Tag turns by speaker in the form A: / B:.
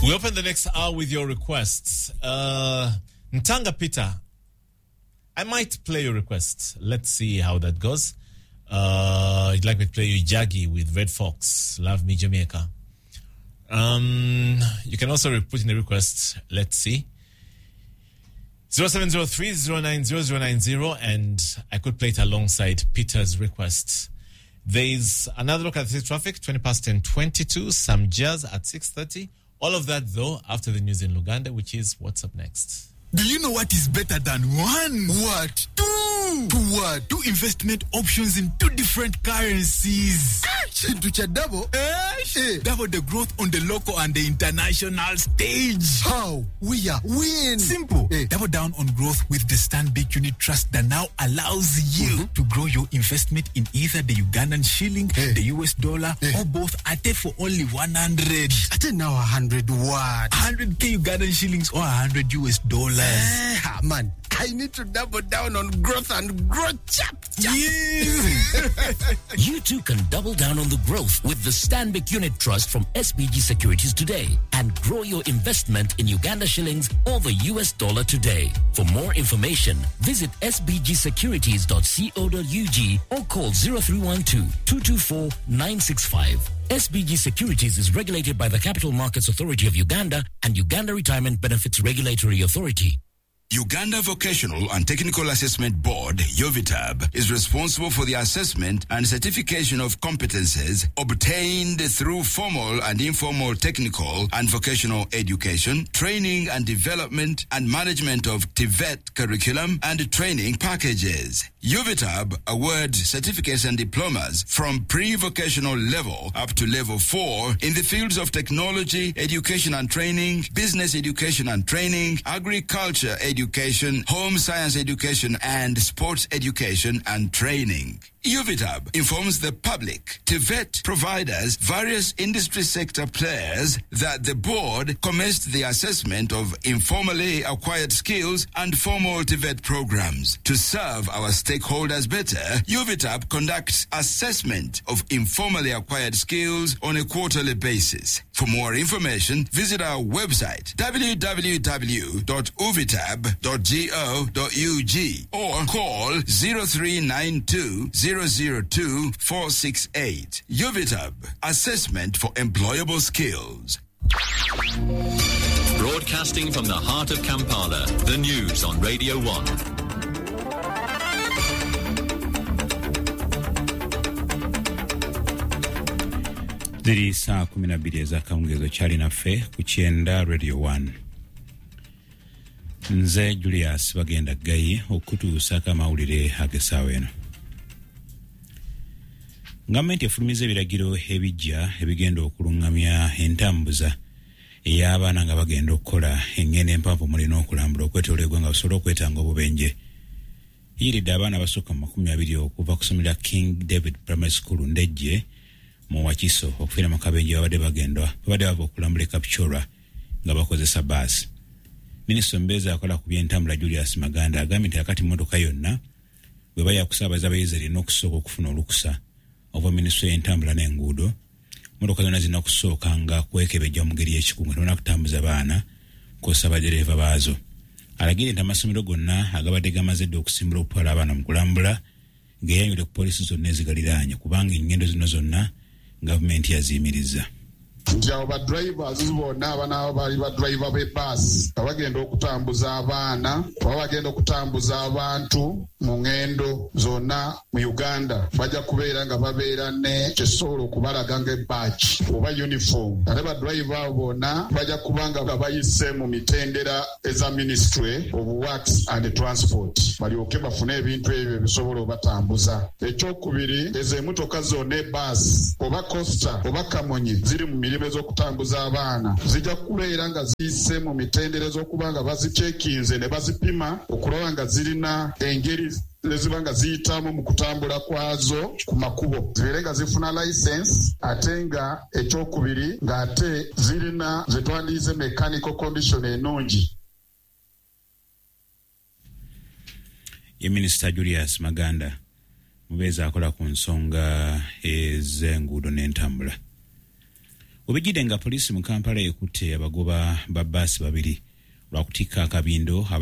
A: We open the next hour with your requests. Ntanga Peter, I might play your request. Let's see how that goes. You'd like me to play you Jaggy with Red Fox, Love Me Jamaica. You can also put in the request. Let's see. 0703 090 090, and I could play it alongside Peter's request. There's another look at the traffic, 10:20, some jazz at 6:30. All of that, though, after the news in Luganda, which is what's up next.
B: Do you know what is better than one?
C: What?
B: Two!
C: Two what?
B: Two investment options in two different currencies.
C: Kintu kya double?
B: Eh?
C: Eh.
B: Double the growth on the local and the international stage.
C: How? We are win.
B: Simple.
C: Eh.
B: Double down on growth with the Stanbic Unit Trust that now allows you to grow your investment in either the Ugandan shilling,
C: Eh.
B: the US dollar,
C: Eh.
B: or both at for only 100.
C: Ate now 100 what?
B: 100K Ugandan shillings or 100 US dollars.
C: Eh, man, I need to double down on growth and grow chap chap.
B: Yes.
D: You too can double down on the growth with the Stanbic Unit Trust from SBG Securities today and grow your investment in Uganda shillings or the US dollar today. For more information, visit sbgsecurities.co.ug or call 0312 224 965. SBG Securities is regulated by the Capital Markets Authority of Uganda and Uganda Retirement Benefits Regulatory Authority.
E: Uganda Vocational and Technical Assessment Board, UVTAB, is responsible for the assessment and certification of competences obtained through formal and informal technical and vocational education, training and development, and management of TVET curriculum and training packages. UVTAB awards certificates and diplomas from pre-vocational level up to level 4 in the fields of technology, education and training, business education and training, agriculture education, home science education, and sports education and training. UVTAB informs the public, TVET providers, various industry sector players that the board commenced the assessment of informally acquired skills and formal TVET programs. To serve our stakeholders better, UVTAB conducts assessment of informally acquired skills on a quarterly basis. For more information, visit our website www.uvitab.go.ug or call 0392 002 468. UVITAB, assessment for employable skills.
F: Broadcasting from the heart of Kampala, the news on Radio 1.
G: Ziri saa 12 ez'akawungeezi kyali naffe ku kyenda Radio 1. Nze Julius Bagenda Gayi okutuusaako amawulire ag'essaawa eno. Gavumenti efulumiza ebiragiro ebijja ebigenda okulungamya entambuza ey'abaana nga bagenda okukola engendo empanvu mulina okulambula okwetoola eggwanga basobole okwetanga obubenje. Yiridde abaana abasukka mu 20 okuva ku ssomero lya King David Primary School Ndejje mu Wakiso okufiira mu kabenje babadde bagenda babadde bava okulambula e Kapchorwa nga bakozesa baasi. Minisita omubeezi akola ku by'entambula Julius Maganda agambye nti akati mmotoka yonna bwe baya kusaabaza abayizi erina okusooka okufuna olukusa okuva minisitule y'entambula n'enguudo. Mmotoka zonna zirina kusookanga kwekebejja mu ngeri y'ekikugu nga tebannaba kutambuza baana kw'ossa badereeva baazo. Alagidde nti amasomero gonna agabadde gamaze dda okusimbula okutwala abaana mu kulambula geeyayule ku poliisi zonna ezigaliraanye kubanga engendo zino zonna gavumenti yaziyimiriza.
H: Nti abo ba drivers bonna abanaaba bali ba driver b'ebbaasi nga bagenda okutambuza abaana oba bagenda okutambuza abantu mu ŋŋendo zonna mu Uganda bajja kubeera nga babeera ne kyesobola okubalaga ng'ebbaaki oba uniform. Ate ba driver abo bonna bajja kuba nga bayise mu mitendera eza Ministry of Works and Transport balyoke bafune ebintu ebyo ebisobola obatambuza. Ekyokubiri, ezo emmotoka zonna ebbaasi oba coaster oba kamonyi ziri mu mirimu ez'okutambuza abaana zijja kubeera nga ziyise mu mitendera ez'okuba nga bazikyekinze ne bazipima okulaba nga zirina engeri eziba nga ziyitamu mu kutambula kwazo ku makubo, zibeere nga zifuna license, ate nga ekyokubiri ng'ate zirina ze twandiyize mechanical condition ennungi.
G: Ye Minisita Julius Maganda mubeezi akola ku nsonga ez'enguudo n'entambula. Webijjidde nga poliisi mu Kampala ekutte abagoba ba bbaasi babiri lwakutikka akabindo.